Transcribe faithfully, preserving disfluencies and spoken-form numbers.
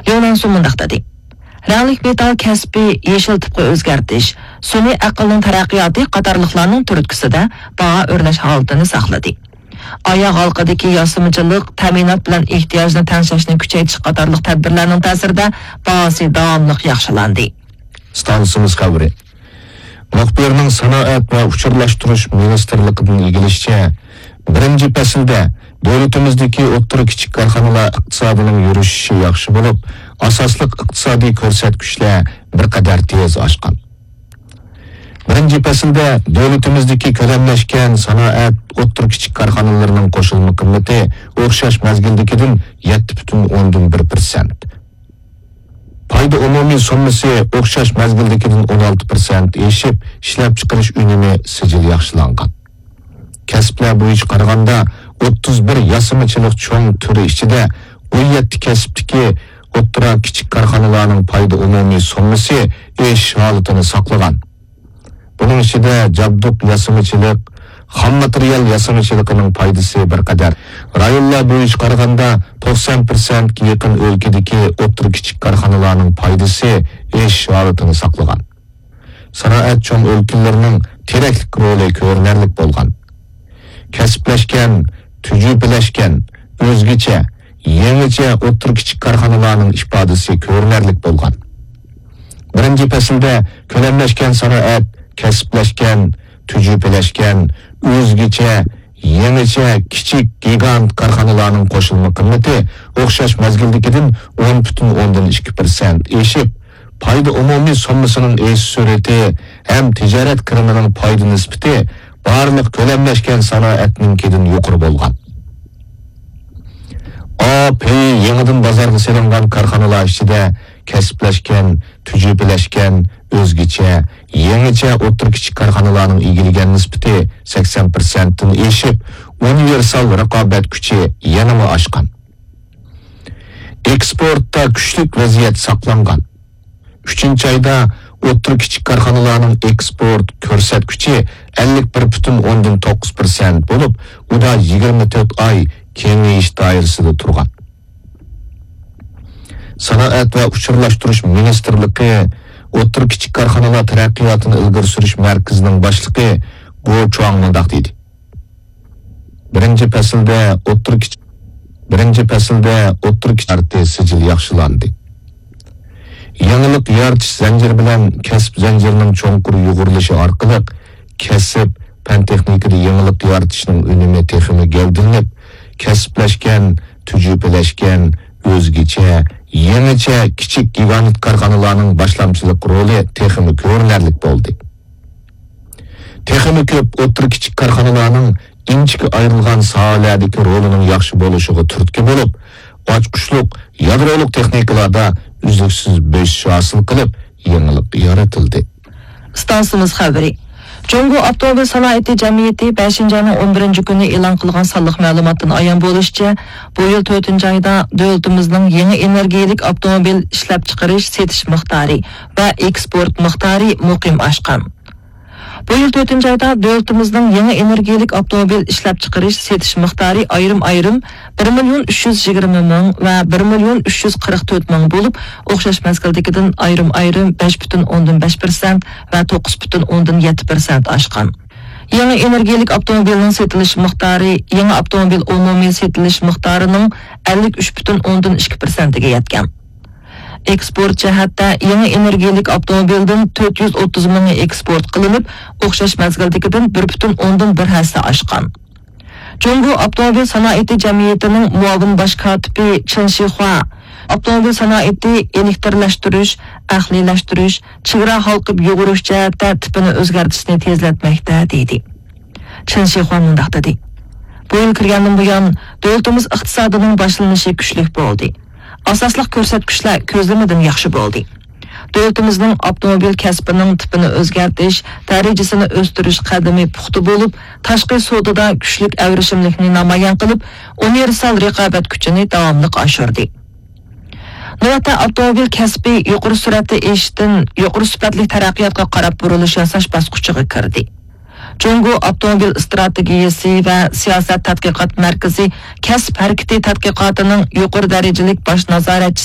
ليۇ نانسۇ مۇنداق دېدى: رەڭلىك مېتال كەسپى يېشىل تىپقا ئۆزگەرتىش، سۈنئىي ئەقىلنىڭ تەرەققىياتى قاتارلىقلارنىڭ تۈرتكىسىدە باھا ئۆرلەش ھالىتىنى ساقلىدى. ئاياغ ھالقىدىكى ياسىمىچىلىق، تەمىنات بىلەن ئېھتىياجنى تەڭشەشنى كۈچەيتىش قاتارلىق تەدبىرلەرنىڭ تەسىرىدە باھاسى داۋاملىق ياخشىلاندى. ئىستانسىمىز خەۋىرى. مۇخبىرنىڭ سانائەت ۋە ئۇچۇرلاشتۇرۇش مىنىستىرلىقىدىن ئىگىلىشىچە، بىرىنچى پەسىلدە دۆلىتىمىزدىكى ئوتتۇرا، كىچىك كارخانىلار ئىقتىسادىنىڭ يۈرۈشۈشى ياخشى بولۇپ، ئاساسلىق ئىقتىسادىي كۆرسەتكۈچلەر بىر قەدەر تېز ئاشقان. بىرىنچى پەسىلدە دۆلىتىمىزدىكى كۆلەملەشكەن سانائەت ئوتتۇرا، كىچىك كارخانىلىرىنىڭ قوشۇلما قىممىتى ئوخشاش مەزگىلدىكىدىن يەتتە پۈتۈن ئوندىن بىر پىرسەنت، پايدا ئومۇمىي سوممىسى ئوخشاش مەزگىلدىكىدىن ئون ئالتە پىرسەنت ئېشىپ، ئىشلەپچىقىرىش ئۈنۈمى سىجىل ياخشىلانغان. كەسىپلەر بويىچە قارىغاندا، ئوتتۇز بىر ياسىمىچىلىق چوڭ تۈرى ئىچىدە ئون يەتتە كەسىپتىكى ئوتتۇرا، كىچىك كارخانىلارنىڭ پايدا ئومۇمىي سوممىسى ئېشىش ھالىتىنى ساقلىغان. بۇنىڭ ئىچىدە جابدۇق ياسىمىچىلىق، خام ماتېرىيال ياسىمىچىلىقىنىڭ پايدىسى بىر قەدەر، رايونلار بويىچە قارىغاندا توقسان پىرسەنتكە يېقىن ئۆلكىدىكى ئوتتۇرا، كىچىك كارخانىلارنىڭ پايدىسى ئېشىش ھالىتىنى ساقلىغان. سانائەت چوڭ ئۆلكىلىرىنىڭ تىرەكلىك رولى كۆرۈنەرلىك بولغان. كەسىپلەشكەن، تۈجۈپىلەشكەن، ئۆزگىچە، يېڭىچە ئوتتۇرا، كىچىك كارخانىلارنىڭ ئىپادىسى كۆرۈنەرلىك بولغان. بىرىنچى پەسىلدە كۆلەملەشكەن سانائەت، كەسىپلەشكەن، تۈجۈپىلەشكەن، ئۆزگىچە، يېڭىچە، كىچىك، گىگانت كارخانىلارنىڭ قوشۇلما قىممىتى ئوخشاش مەزگىلدىكىدىن ئون پۈتۈن ئوندىن ئىككى پىرسەنت ئېشىپ، پايدا ئومۇمىي سوممىسىنىڭ ئېشىش سۈرئىتى ھەم تىجارەت كىرىمىنىڭ پايدا نىسبىتى بارلىق كۆلەملەشكەن سانائەتنىڭكىدىن يۇقىرى بولغان. ئا پېيى يېڭىدىن بازارغا سېلىنغان كارخانىلار ئىچىدە كەسىپلەشكەن، تۈجۈپىلەشكەن، ئۆزگىچە، يېڭىچە ئوتتۇرا، كىچىك كارخانىلارنىڭ ئىگىلىگەن نىسبىتى سەكسەن پىرسەنتتىن ئېشىپ، ئۇنىۋېرسال رىقابەت كۈچى يەنىمۇ ئاشقان. ئېكسپورتتا كۈچلۈك ۋەزىيەت ساقلانغان. ئۈچىنچى ئايدا ئوتتۇرا، كىچىك كارخانىلارنىڭ ئېكسپورت كۆرسەتكۈچى ئەللىك بىر پۈتۈن ئوندىن توققۇز پىرسەنت بولۇپ، ئۇدا يىگىرمە تۆت ئاي كېڭىيىش دائىرىسىدە تۇرغان. سانائەت ۋە ئۇچۇرلاشتۇرۇش مىنىستىرلىقى ئوتتۇرا، كىچىك كارخانىلار تەرەققىياتىنى ئىلگىرى سۈرۈش مەركىزىنىڭ باشلىقى گو چۇاڭ مۇنداق دېدى: بىرىنچى پەسىلدە ئوتتۇرا، كىچىك، بىرىنچى پەسىلدە ئوتتۇرا، كىچىك كارتى سىجىل ياخشىلاندى. يېڭىلىق يارىتىش زەنجىرى بىلەن كەسىپ زەنجىرىنىڭ چوڭقۇر يۇغۇرۇلۇشى ئارقىلىق، كەسىپ، پەن تېخنىكىدا يېڭىلىق يارىتىشنىڭ ئۈنۈمى تېخىمۇ گەۋدىلىنىپ، كەسىپلەشكەن، تۈجۈپىلەشكەن، ئۆزگىچە، يېڭىچە كىچىك گىگانت كارخانىلارنىڭ باشلامچىلىق رولى تېخىمۇ كۆرۈنەرلىك بولدى. تېخىمۇ كۆپ ئوتتۇرا، كىچىك كارخانىلارنىڭ ئىنچىكە ئايرىلغان ساھەلەردىكى رولىنىڭ ياخشى بولۇشىغا تۈرتكە بولۇپ، ئاچقۇچلۇق يادرولۇق تېخنىكىلاردا ئۈزلۈكسىز بۆسۈش ھاسىل قىلىپ، يېڭىلىق يارىتىلدى. ئىستانسىمىز خەۋىرى. جۇڭگو ئاپتوموبىل سانائىتى جەمئىيىتى بەشىنچى ئاينىڭ ئون بىرىنچى كۈنى ئېلان قىلغان سانلىق مەلۇماتتىن ئايان بولۇشىچە، بۇ يىل تۆتىنچى ئايدا دۆلىتىمىزنىڭ يېڭى ئېنېرگىيەلىك ئاپتوموبىل ئىشلەپچىقىرىش، سېتىش مىقدارى ۋە ئېكسپورت مىقدارى مۇقىم ئاشقان. بۇ يىل تۆتىنچى ئايدا دۆلىتىمىزنىڭ يېڭى ئېنېرگىيەلىك ئاپتوموبىل ئىشلەپچىقىرىش، سېتىش مىقدارى ئايرىم-ئايرىم بىر مىليون ئۈچ يۈز يىگىرمە مىڭ ۋە بىر مىليون ئۈچ يۈز قىرىق تۆت مىڭ بولۇپ، ئوخشاش مەزگىلدىكىدىن ئايرىم-ئايرىم بەش پۈتۈن ئوندىن بەش پىرسەنت ۋە توققۇز پۈتۈن ئوندىن يەتتە پىرسەنت ئاشقان. يېڭى ئېنېرگىيەلىك ئاپتوموبىلنىڭ سېتىلىش مىقدارى يېڭى ئاپتوموبىل ئومۇمىي سېتىلىش مىقدارىنىڭ ئەللىك ئۈچ پۈتۈن ئوندىن ئىككى پىرسەنتىگە يەتكەن. ئېكسپورت جەھەتتە يېڭى ئېنېرگىيەلىك ئاپتوموبىلدىن تۆت يۈز ئوتتۇز مىڭى ئېكسپورت قىلىنىپ، ئوخشاش مەزگىلدىكىدىن بىر پۈتۈن ئوندىن بىر ھەسسە ئاشقان. جۇڭگو ئاپتوموبىل سانائىتى جەمئىيىتىنىڭ مۇئاۋىن باش كاتىپى چېن شىخۇا ئاپتوموبىل سانائىتى ئېلېكتىرلەشتۈرۈش، ئەقلىيلەشتۈرۈش، چېگرا ھالقىپ يۇغۇرۇش جەھەتتە تىپىنى ئۆزگەرتىشنى تېزلەتمەكتە، دېدى. چېن شىخۇا مۇنداق دېدى: بۇ يىل كىرگەندىن بۇيان، دۆلىتىمىز ئىقتىسادىنىڭ باشلىنىشى كۈچلۈك بولدى. ئاساسلىق كۆرسەتكۈچلەر كۆزلىمىدىن ياخشى بولدى. دۆلىتىمىزنىڭ ئاپتوموبىل كەسپىنىڭ تىپىنى ئۆزگەرتىش، دەرىجىسىنى ئۆستۈرۈش قەدىمى پۇختا بولۇپ، تاشقى سودىدا كۈچلۈك ئەۋرىشىملىكنى نامايان قىلىپ، ئۇنىۋېرسال رىقابەت كۈچىنى داۋاملىق ئاشۇردى. نۆۋەتتە ئاپتوموبىل كەسپى يۇقىرى سۈرئەتتە ئېشىشتىن يۇقىرى سۈپەتلىك تەرەققىياتقا قاراپ بۇرۇلۇش ياساش باسقۇچىغا كىردى. جۇڭگو ئاپتوموبىل ئىستراتېگىيەسى ۋە سىياسەت تەتقىقات مەركىزى كەسىپ ھەرىكىتى تەتقىقاتىنىڭ يۇقىرى دەرىجىلىك باش نازارەتچىسى